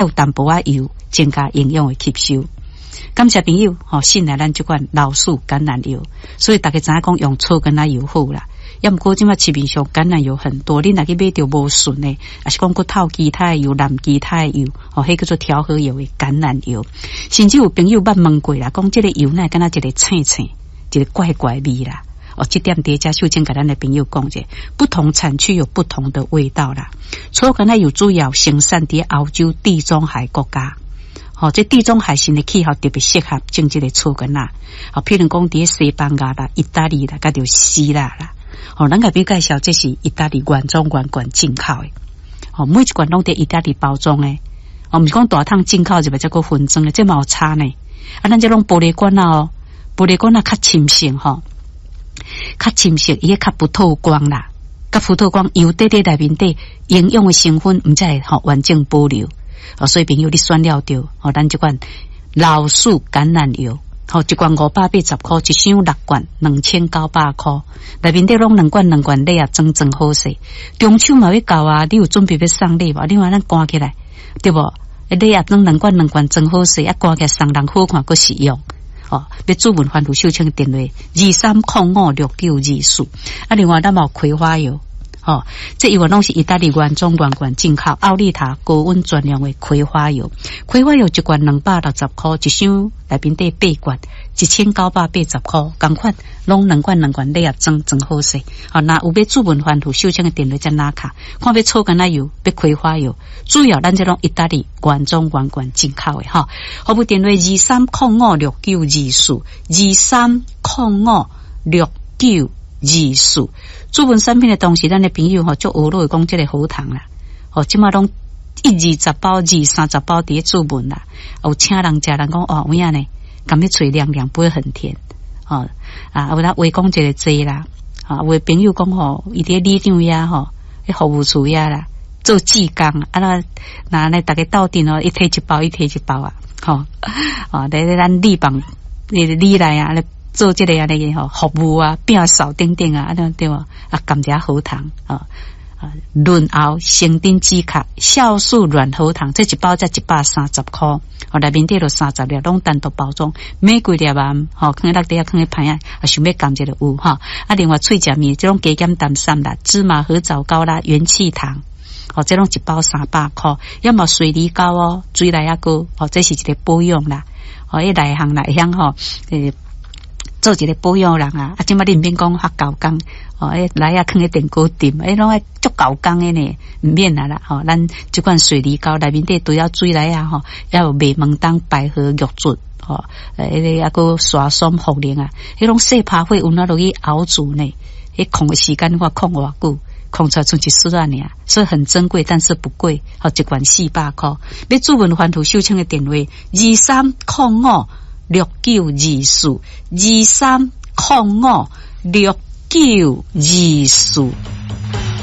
有淡薄仔油，增加營養的吸收。感謝朋友吼，信賴咱這款老樹橄欖油，所以大家知影講用草橄欖油好啦。抑毋過這馬市面上橄欖油很多，你若去買著無純的，抑是講閣透其他的油、摠其他的油，吼，彼叫做調和油的橄欖油。甚至有朋友捌問過啦，講這個油哪會敢若一个青青，一个怪怪味啦。哦，這點佇遮秀清共咱的朋友講者，不同產區有不同的味道啦。草橄欖油主要生產佇歐洲地中海國家。吼，這地中海型的氣候特別適合種這个草橄欖。吼，譬如講佇西班牙啦、意大利啦，佮著希臘啦。吼，咱共朋友介紹，這是意大利原裝原罐進口的。吼，每一罐攏佇意大利包裝的。哦，毋是講大桶進口入來才閣分裝的，這嘛有差呢。啊，咱這攏玻璃罐仔哦，玻璃罐仔較深色吼，較深色，伊彼較不透光啦，較不透光，油底底內面底營養的成分毋才會吼完整保留。哦，所以朋友你選了著，吼，咱這款老樹橄欖油，吼，一罐580箍，一箱六罐2900箍，內面底攏兩罐兩罐禮盒裝裝好勢。中秋嘛欲到啊，你有準備欲送禮無？另外咱關起來，對無？禮盒裝兩罐兩罐裝好勢，啊，關起來送人好看，閣實用。哦，欲諮問番予秀清電話23056924。啊，另外咱嘛有葵花油。吼，這油攏是意大利原裝原罐進口，奧利塔高溫專用的葵花油。葵花油一罐260箍，一箱內面底八罐，1980箍，仝款攏兩罐兩罐禮盒裝裝好勢。吼，若有欲諮問番予秀清的電話才拿卡，看欲草橄欖油，欲葵花油，主要咱這攏意大利原裝原罐進口的吼。服務電話23056924，23056924。諮問產品的同時，咱的朋友吼，足學落講這个喉糖啦，吼，這馬攏一二十包、二三十包佇咧諮問啦，有請人食，人講哦，有影呢，感覺喙涼涼，不會很甜，吼啊，有啦話講一个濟啦，吼，有的朋友講吼，伊佇咧里長遐吼，彼服務處遐啦，做志工，啊那那呢，逐家鬥陣哦，伊提一包，伊提一包啊，吼，哦，佇咧咱里房，里內啊，咧做這个按呢吼服務啊，摒掃等等啊，按呢對無？啊，甘蔗喉糖啊，啊，潤喉生長止咳酵素軟喉糖，這一包才130箍，哦，內面底就30粒，攏單獨包裝，買幾粒啊？吼，囥佇落底啊，囥佇盤仔，啊，想欲含一个有吼。啊，另外喙食麵，這種加減淡散啦，芝麻褐藻膏啦，元氣糖，哦，這攏一包300箍，抑嘛水梨膏哦，水梨仔膏，哦，這是一个保養啦，哦，彼內行啦，會曉吼，做一个保養人啊，啊，這馬你毋免講較猴工，哦，彼梨仔囥佇電鍋店，彼攏愛足猴工的呢，毋免啊啦，吼，咱這款水梨膏內面底除了水梨仔吼，抑有麥門冬、百合、玉竹，吼，彼个抑閣沙松、茯苓啊，彼攏細拍火溫仔落去熬煮呢，彼控的時間我控偌久，控出來賰一絲仔爾，所以很珍貴，但是不貴，吼，一罐400箍。欲諮問番予秀清的電話23056924，23056924。